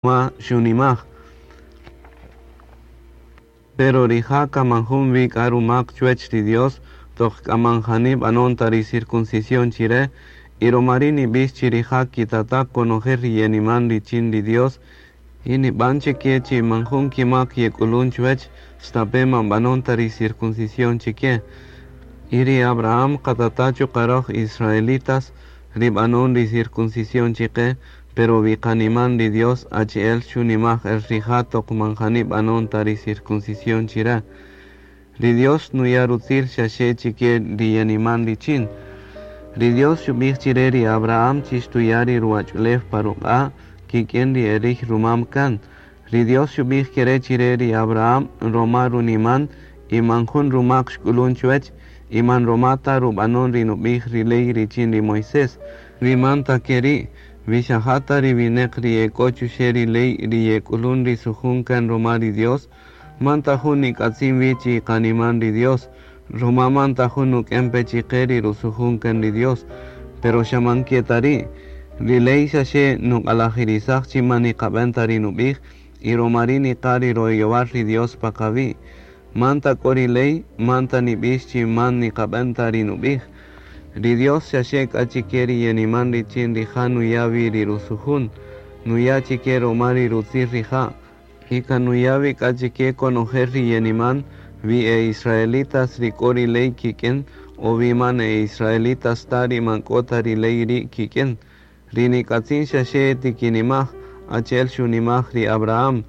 Ma xunimaj. Pero rija' kan man jun wi k'a rumak chuwech ri Dios toq k'a man jani b'anon ta ri circuncisión chire, y roma ri' nib'ix chi rija' kitata' konojel ri yeniman richin ri Dios, y nib'an chike chi man jun kimak yek'ulun chuwech, stape' man b'anon ta ri circuncisión chike. Y ri Abraham qatata' chuqa' roj israelitas ri b'anon ri circuncisión chike, pero wi qaniman ri Dios achi'el xunimaj el rija' toq man jani b'anon ta ri circuncisión chire. Ri Dios nuya' rutzil xaxe chike ri yeniman richin. Ri Dios xub'ij chire ri Abraham chi xtuya' ri ruwach'ulew pa ruq'a' kik'in ri erij rumam kan. Ri Dios xub'ij kere chire ri Abraham roma runiman y man jun rumak xk'ulun chuwech y man roma ta rub'anon ri nub'ij ri ley richin ri Moisés. Wi man ta keri', wi xa ja ta ri wineq ri ek'o chuxe' ri ley ri yek'ulun ri sujun kan roma ri Dios, man ta jun nik'atzin wi chi qaniman ri Dios, roma man ta jun nuk'en pe chike ri rusujun kan ri Dios. Pero xa man ke ta ri', ri ley xaxe nuq'alajirisaj chi man niqab'en ta ri nub'ij, y roma ri' niqa' ri royowal ri Dios pa qawi'. Man ta k'o ri ley, man ta nib'ix chi man niqab'en ta ri nub'ij. Ri Dios xaxe k'a chike ri yeniman richin rija' nuya' wi ri rusujun, nuya' chike roma ri rutzil rija', y kan nuya' wi k'a chike konojel ri yeniman, wi e israelitas ri k'o ri ley kik'in, o wi man e israelitas ta ri man k'o ta ri ley ri' kik'in. Ri nik'atzin xaxe tikinimaj, achi'el xunimaj ri Abraham,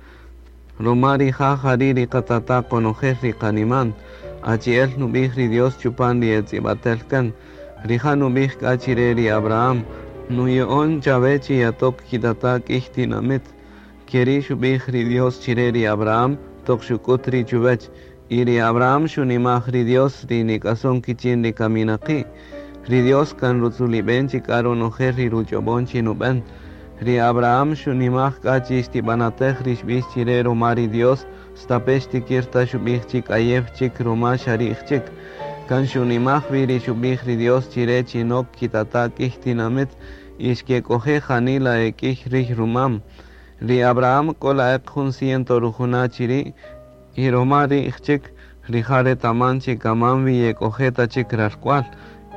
roma rija' jari' ri qatata' konojel ri qaniman, achi'el nub'ij ri Dios chupan ri etz'ib'atel kan. Rija' nub'ij k'a chire ri Abraham, nuya'on chawe chi yatok kitata' k'ij tinamit. Keri' xub'ij ri Dios chire ri Abraham toq xuk'ut ri' chuwech, y ri Abraham xunimaj ri Dios ri nik'ason kichin ri kaminaqi'. Ri Dios kan rutzulib'en chik k'a ronojel ri ruch'ob'on chi nub'en. Ri Abraham xunimaj k'a chi xtib'anatej ri xb'ix chire roma ri Dios, stape' xtikir ta xub'ij chi k'ayew chik roma xa ri'j chik. Kan xunimaj wi ri xub'ij ri Dios chire chi nok kitata' k'ij tinamit y xkek'oje' janila e k'ij rij rumam. Ri Abraham k'o la'eq jun ciento rujuna' chiri', y roma ri'j chik, rija' retaman chi kaman wi yek'oje' ta chik ralk'wal,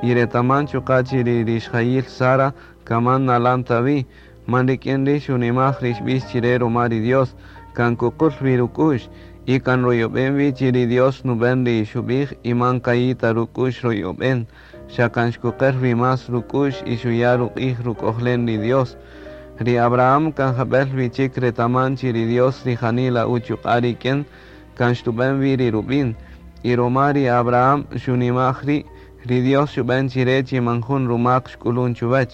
y retaman chuqa' chi ri rixjayil Sara kaman nalan ta wi, man rik'in ri' xunimaj ri xb'ix chire roma ri Dios, kan kuqul wi ruk'u'x, y kan royob'en wi chi ri Dios nub'en ri xub'ij y man kayi' ta ruk'u'x royob'en, xa kan xkuqer wi más ruk'u'x y xuya' ruq'ij ruk'ojlen ri Dios. Ri Abraham kan jab'el wi chik retaman chi ri Dios ri janila uchuq'a' rik'in kan xtub'en wi ri rub'in, y roma ri Abraham xunimaj ri', ri Dios xub'en chire chi man jun rumak xk'ulun chuwech.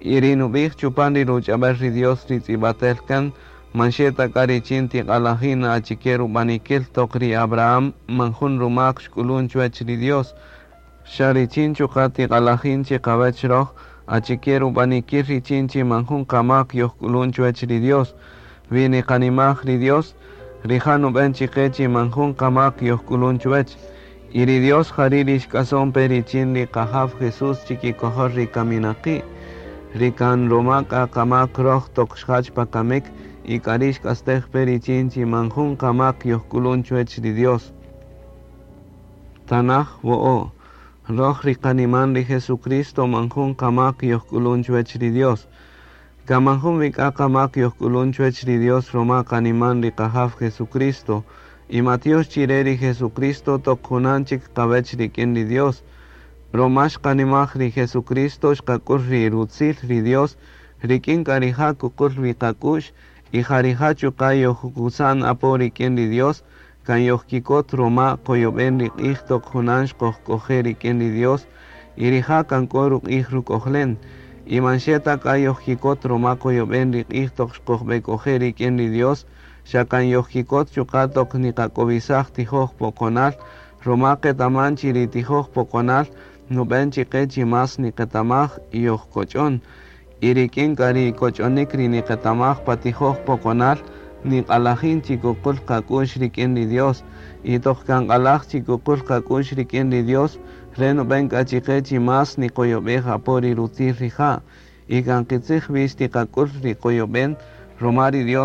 Y ri nub'ij chupan ri ruch'ab'el ri Dios ri tz'ib'atel kan, man xe ta k'a richin tiq'alajin achike rub'anikil toq ri Abraham man jun rumak xk'ulun chuwech ri Dios, xa richin chuqa' tiq'alajin chiqawech roj achike rub'anikil richin chi man jun qamak yojk'ulun chuwech ri Dios. Wi niqanimaj ri Dios, rija' nub'en chiqe chi man jun qamak yojk'ulun chuwech. Y ri Dios jari' ri xk'ason pe richin ri qajaw Jesús chikikojol ri kaminaqi', ri kan roma k'a qamak roj toq xjach pa kamik y k'ari' xk'astej pe richin chi man jun qamak yojk'ulun chuwech ri Dios. Tanaj wo'o'. Roj ri qaniman ri Jesucristo man jun qamak yojk'ulun chuwech ri Dios. Kan man jun wi k'a qamak yojk'ulun chuwech ri Dios roma qaniman ri qajaw Jesucristo, y matyox chire ri Jesucristo toq junan chik qawech rik'in ri Dios. Roma xqanimaj ri Jesucristo xqak'ul ri rutzil ri Dios, rik'in k'a rija' kuqul wi qak'u'x, y ja rija' chuqa' yojkusan apo rik'in ri Dios, kan yojkikot roma qoyob'en ri q'ij toq junan xqojk'oje' rik'in ri Dios, y rija' kan k'o ruq'ij ruk'ojlen. Y man xe ta k'a yojkikot roma qoyob'en ri q'ij toq xqojb'ek'oje' rik'in ri Dios, xa kan yojkikot chuqa' toq niqak'owisaj tijoj poqonal, roma qetaman chi ri tijoj poqonal nub'en chiqe chi más niqetamaj y yojkoch'on. Y rik'in k'a ri koch'onik ri niqetamaj pa tijoj poqonal, niq'alajin chi kuqul qak'u'x rik'in ri Dios, y toq kan q'alaj chi kuqul qak'u'x rik'in ri Dios, re nub'en k'a chiqe chi más niqoyob'ej apo ri rutzil rija', y kan qitzij wi xtiqak'ul ri qoyob'en, Roma ri Dios.